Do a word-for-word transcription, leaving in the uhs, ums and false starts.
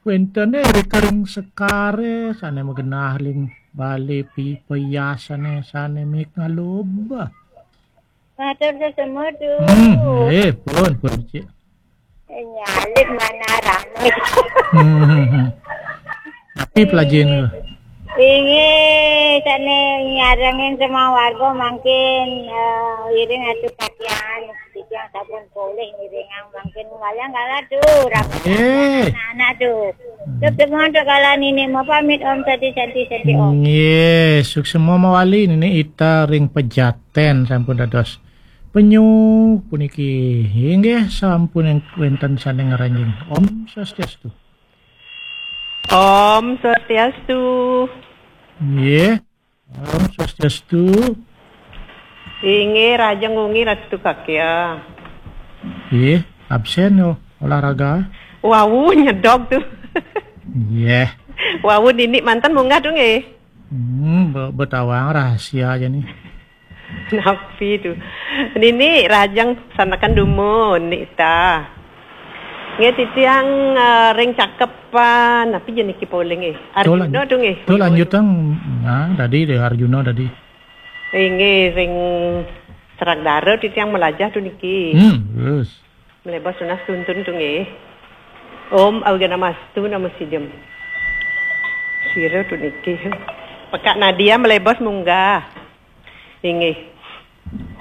Wénten ring sekare sane magenah ring bale pi-, peyasane sane mik ngaloba. Matur suksma, Hmm, Duh. Eh, pun, pun, Cik. Nyalip mana rame. Hmm. Tapi pelajin. Inggih, sane nyarengin semua warga mangkin, eh, iring atu katian. Titiang sampun polih ngiringang mangkin walang kala, Duh. Rame Eh. anak-anak, Duh. Duh, semua, Duh, kala nini mau pamit, Om Santi, Santi, Santi, Om. Nggih, suksma mawali nini ita ring Pejaten sampun dados penyu puniki. Inggih, sampun wénten sane ngranjing. Om Swastiastu. Om Swastiastu. Nggih. Om Swastiastu. Inggih, rahajeng wengi Ratu Kakya. Nggih, absen yo olahraga. Wau nyedog tu. Nggih. Wau nini manten munggah tu nggih. Hmm, be- betawang rahasia aja nih. Napi tu? Nini rahajeng sanakan dumun nita. Nggih titiang eh, ring cakepan, napi je niki polih nggih? Arjuna tu nggih. Tuh lanjutang, nah, tadi deh Arjuna tadi. Inggih ring Serak Dara titiang melajah tu niki. Hmm, terus. Melebas tunas tuntun tu nggih. Om Awighnam Astu Namo Sidham. Sira tu niki. Pekak Nadia melebas munggah. Inggih.